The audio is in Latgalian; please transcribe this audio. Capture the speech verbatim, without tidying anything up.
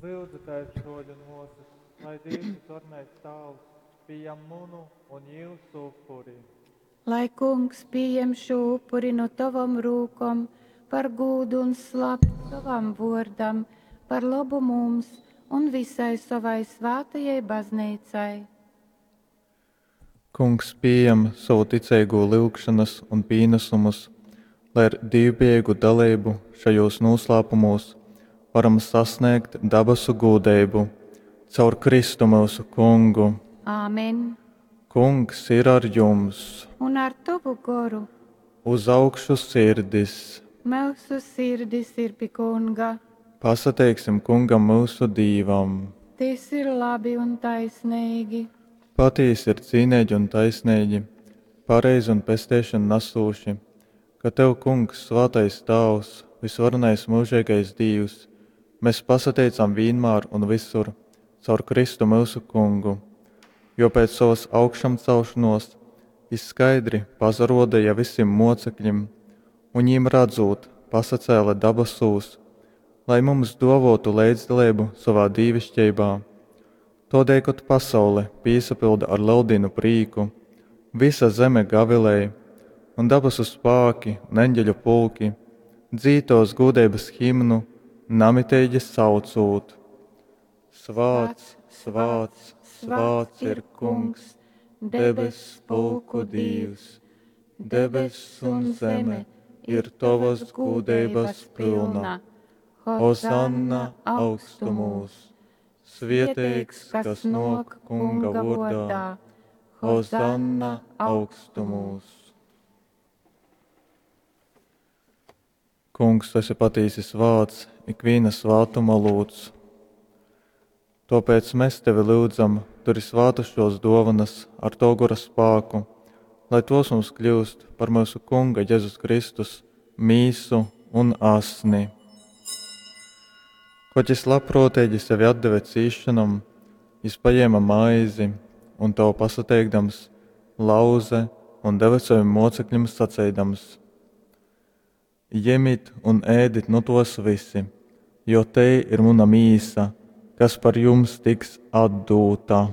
Lyudzu tēvs, bruoļi un muosys, lai Dīvs Vysvarenais Tāvs pījam munu un jiusu upuri. Lai Kungs pījem šū upuri nu tovom rūkom par gūdu un slavi sovam vuordam, par lobu mums un visai sovai svātajai Bazneicai. Kungs pījam sovu ticeigū lyugšonas un pīnasumus, lai ar dīvbejeigu daleibu šajūs nūslāpumūs varam sasnēgt dabasu gūdeibu. Caur Kristu myusu Kungu. Āmen. Kungs ir ar jums! Un ar tovu goru. Uz augšu sirdis! Myusu sirdis ir pi Kunga. Pasateiksim Kungam myusu Dīvam! Tys ir labi un taisneigi. Patīsi ir cīneigi un taisneigi, pareizi un pesteišonu nasūši, ka tev, Kungs, svātais Tāvs, vysvarenais myužeigais Dīvs, mes pasateicam vīnmār un vysur caur Kristu myusu Kungu, jo pēc sovas augšamcelšonōs jys skaidri pasarōdeja visim mōceklim un, jim radzūt, pasacēle dabasūs, lai mums dōvōtu leidzdaleibu sovā dīviškeibā. Tōdēļ, kod pasaule pīsapylda ar Leldīnu prīku, vysa zeme gavilej, un dabasu spāki un eņģeļu pulki dzīd tōs gūdeibas himnu, namiteigi saucūt: Svāts, svāts, svāts ir Kungs, debess pulku Dīvs, debess un zeme ir tovas gūdeibas pylna. Hozanna augstumūs! Svieteigs, kas nōk Kunga vōrdā! Hozanna augstumūs! Kungs, tu esi patīsi svāts, ikvīna svātuma olūts. Tōpēc mēs tevi lyudzam, turi svātas šos dōvanas ar to gora spāku, lai tos mums kļūst par myusu Kunga Jezus Kristus mīsu un asni. Kod jys labprōteigi sevi atdeve cīsšonom, jys pajēma maizi un tev pasateikdams, lauze un deve sovim mōcekļim saceidams: Jemit un ēdit nu tos visi, jo tei ir muna mīsa, kas par jums tiks atdūta.